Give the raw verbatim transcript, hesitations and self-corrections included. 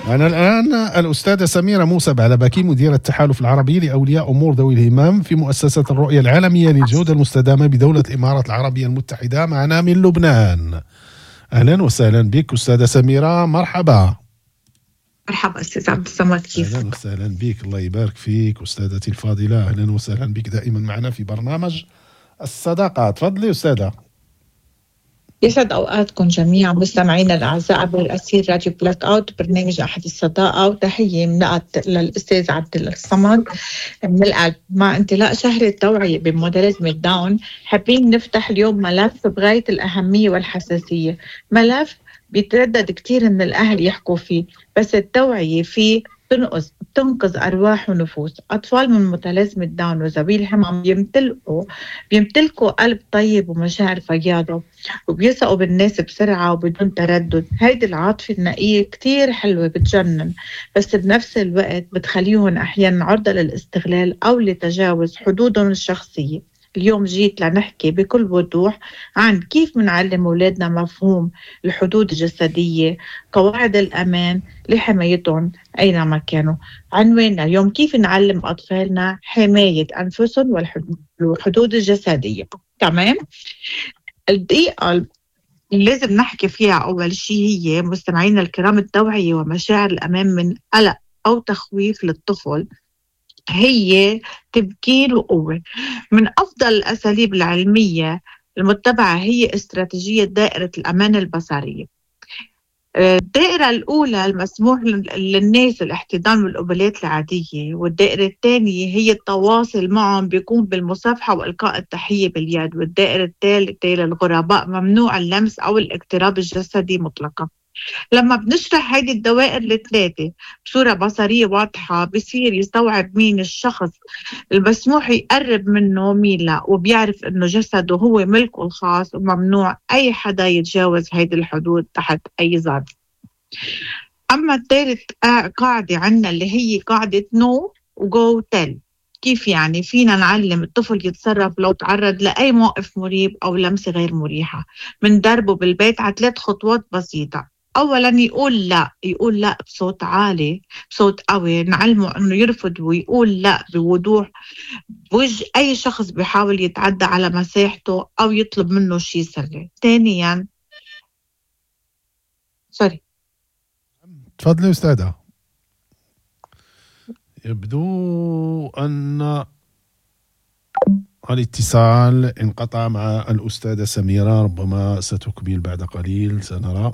معنا الآن الأستاذة سميرة موسى بعلبكي، مديرة التحالف العربي لأولياء أمور ذوي الهمم في مؤسسة الرؤية العالمية للجودة المستدامة بدولة الإمارات العربية المتحدة، معنا من لبنان. أهلا وسهلا بك أستاذة سميرة، مرحبا. مرحبا أستاذ عبد الصمد، كيفك؟ أهلا وسهلا بك، الله يبارك فيك أستاذتي الفاضلة، أهلا وسهلا بك دائما معنا في برنامج الصداقة. تفضلي أستاذة. يسعد أوقاتكم جميعا مستمعينا الأعزاء عبر الأثير راديو بلاك أوت، برنامج أحد الصداقة، وتحية من للأستاذ عبد الصمد من القلب. مع انطلاق شهر التوعية بمتلازمة داون، حابين نفتح اليوم ملف بغاية الأهمية والحساسية، ملف بيتردد كتير من الأهل يحكوا فيه، بس التوعية فيه بتنقذ بتنقذ أرواح ونفوس. أطفال من متلازمة داون وذوي الهمم بيمتلكوا بيمتلكوا قلب طيب ومشاعر فياضة، وبيثقوا بالناس بسرعة وبدون تردد. هيدي العاطفة النقية كتير حلوة بتجنن، بس بنفس الوقت بتخليهم أحيانا عرضة للاستغلال أو لتجاوز حدودهم الشخصية. اليوم جيت لنحكي بكل وضوح عن كيف منعلم أولادنا مفهوم الحدود الجسدية، قواعد الأمان لحمايتهم أينما كانوا. عنواننا اليوم كيف نعلم أطفالنا حماية أنفسهم والحدود الجسدية. تمام؟ الدقيقة اللي لازم نحكي فيها أول شيء هي مستمعينا الكرام التوعية ومشاعر الأمان من قلق أو تخويف للطفل هي تمكين وقوة. من أفضل الأساليب العلمية المتبعة هي استراتيجية دائرة الأمان البصرية. الدائرة الأولى المسموح للناس الاحتضان والقبلات العادية، والدائرة الثانية هي التواصل معهم بيكون بالمصافحة وإلقاء التحية باليد، والدائرة الثالثة للغرباء ممنوع اللمس أو الاقتراب الجسدي مطلقا. لما بنشرح هيدي الدوائر الثلاثة بصورة بصرية واضحة بصير يستوعب مين الشخص المسموح يقرب منه مين لا، وبيعرف انه جسده هو ملكه الخاص وممنوع اي حدا يتجاوز هيدي الحدود تحت اي ظرف. اما الثالث قاعدة عنا اللي هي قاعدة know و go tell. كيف يعني فينا نعلم الطفل يتصرف لو تعرض لأي موقف مريب أو لمسة غير مريحة؟ من دربه بالبيت على ثلاث خطوات بسيطة. أولاً يقول لا، يقول لا بصوت عالي بصوت قوي، نعلمه أنه يرفض ويقول لا بوضوح بوجه أي شخص بيحاول يتعدى على مساحته أو يطلب منه شيء سري. ثانياً سوري تفضلي أستاذة. يبدو أن الاتصال انقطع مع الأستاذة سميرة، ربما ستكمل بعد قليل، سنرى.